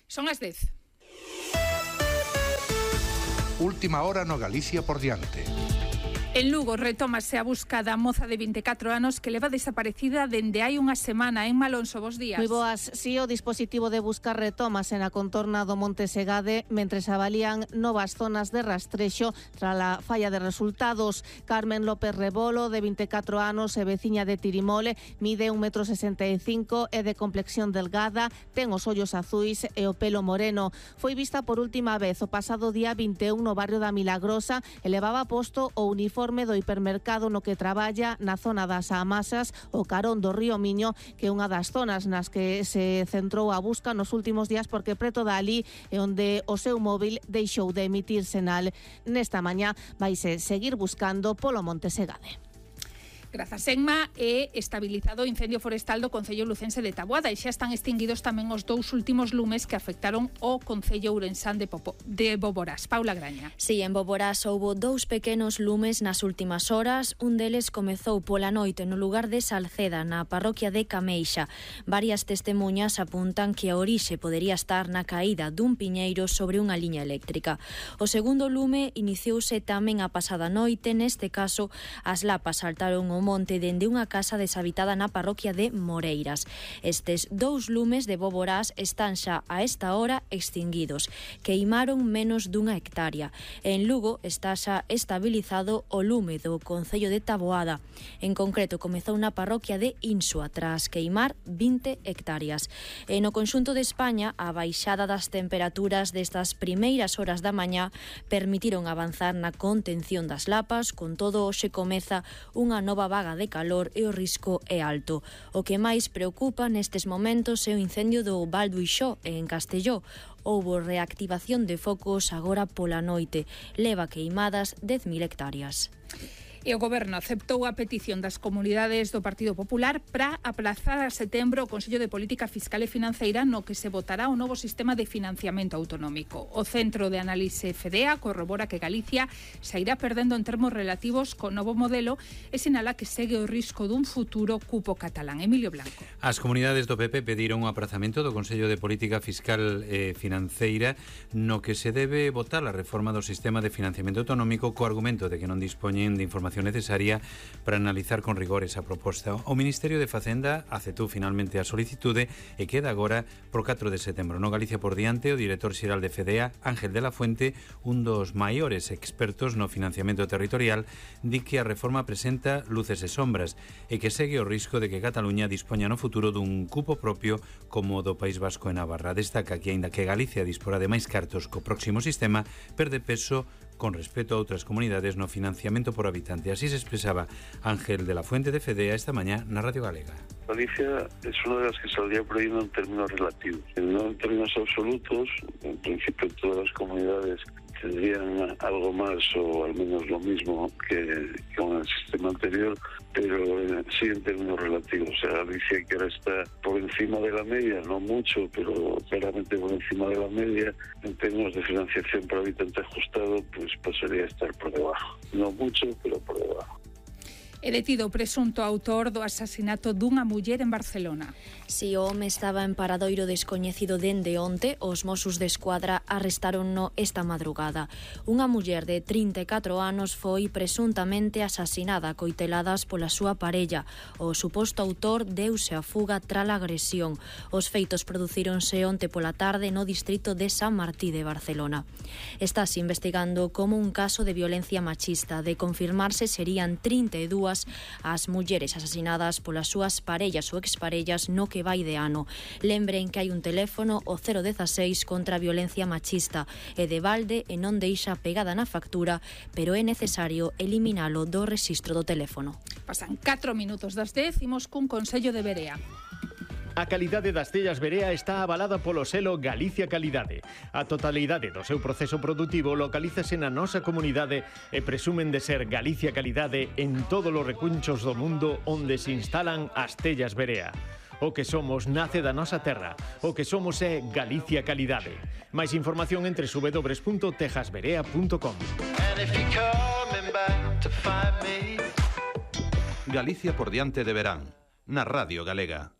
Son as 10. Última hora no Galicia por diante. En Lugo retómase a busca da moza de 24 anos que leva desaparecida dende hai unha semana. En Malonso, bos días. Moi boas. Si o dispositivo de busca retómase na contorna do Monte Segade mentres avalían novas zonas de rastrexo tras a falla de resultados. Carmen López Rebolo, de 24 anos e veciña de Tirimole, mide 1,65 m, é de complexión delgada, ten os ollos azuis e o pelo moreno. Foi vista por última vez o pasado día 21 no barrio da Milagrosa e levaba posto o uniforme do hipermercado no que traballa na zona das Amasas, o carón do río Miño, que é unha das zonas nas que se centrou a busca nos últimos días porque preto dali é onde o seu móvil deixou de emitir sinal. Nesta mañá vaise seguir buscando polo Monte Segade. Grazas, Enma, é estabilizado o incendio forestal do Concello lucense de Taboada e xa están extinguidos tamén os dous últimos lumes que afectaron o Concello ourensán de Boborás. Paula Graña. Si, en Boborás houbo dous pequenos lumes nas últimas horas. Un deles comezou pola noite no lugar de Salceda, na parroquia de Cameixa. Varias testemunhas apuntan que a orixe podería estar na caída dun piñeiro sobre unha liña eléctrica. O segundo lume iniciouse tamén a pasada noite. Neste caso, as lapas saltaron o monte dende unha casa deshabitada na parroquia de Moreiras. Estes dous lumes de Boborás están xa a esta hora extinguidos. Queimaron menos dunha hectárea. En Lugo está xa estabilizado o lume do Concello de Taboada. En concreto, comezou na parroquia de Insua tras queimar 20 hectáreas. E no conxunto de España, a baixada das temperaturas destas primeiras horas da mañá permitiron avanzar na contención das lapas. Con todo, hoxe comeza unha nova vaga de calor e o risco é alto. O que máis preocupa nestes momentos é o incendio do Val do Ixó, en Castelló. Houbo reactivación de focos agora pola noite. Leva queimadas 10.000 hectáreas. E o Goberno aceptou a petición das comunidades do Partido Popular para aplazar a setembro o Consello de Política Fiscal e Financeira no que se votará o novo sistema de financiamento autonómico. O Centro de Análise FEDEA corrobora que Galicia se irá perdendo en termos relativos co novo modelo e sinala que segue o risco dun futuro cupo catalán. Emilio Blanco. As comunidades do PP pediron o aprazamento do Consello de Política Fiscal e Financeira no que se debe votar a reforma do sistema de financiamento autonómico co argumento de que non dispoñen de información necesaria para analizar con rigor esa proposta. O Ministerio de Facenda aceptou finalmente a solicitude e queda agora pro 4 de setembro. No Galicia por diante, o director xeral de FEDEA, Ángel de la Fuente, un dos maiores expertos no financiamento territorial, di que a reforma presenta luces e sombras e que segue o risco de que Cataluña dispoña no futuro dun cupo propio como o do País Vasco e Navarra. Destaca que, aínda que Galicia disporá de máis cartos co próximo sistema, perde peso con respecto a outras comunidades no financiamento por habitante. Así se expresaba Ángel de la Fuente de FEDEA esta mañá na Radio Galega. Galicia es una de las que saldría perdiendo en términos relativos, no en términos absolutos. En principio todas las comunidades tendrían algo más o al menos lo mismo que con el sistema anterior, pero sí en términos relativos. O sea, Galicia, que ahora está por encima de la media, no mucho, pero claramente por encima de la media, en términos de financiación por habitante ajustado, pues pasaría a estar por debajo. No mucho, pero por debajo. É detido o presunto autor do asasinato dunha muller en Barcelona. Si o home estaba en paradoiro descoñecido dende onte, os Mossos de Escuadra arrestáronno esta madrugada. Unha muller de 34 anos foi presuntamente asasinada a coiteladas pola súa parella. O suposto autor deuse a fuga tras a agresión. Os feitos producíronse onte pola tarde no distrito de San Martí de Barcelona. Estás investigando como un caso de violencia machista. De confirmarse, serían 32 as mulleres asasinadas polas súas parellas ou exparellas no que vai de ano. Lembren que hai un teléfono, o 016, contra a violencia machista. É de balde e non deixa pegada na factura, pero é necesario eliminalo do rexistro do teléfono. Pasan 4 minutos das 10, imos cun consello de Berea. A calidade das tellas Berea está avalada polo selo Galicia Calidade. A totalidade do seu proceso produtivo localízase na nosa comunidade e presumen de ser Galicia Calidade en todos os recunchos do mundo onde se instalan as tellas Berea. O que somos nace da nosa terra. O que somos é Galicia Calidade. Máis información entre www.tejasberea.com. Galicia por diante de verán, na Radio Galega.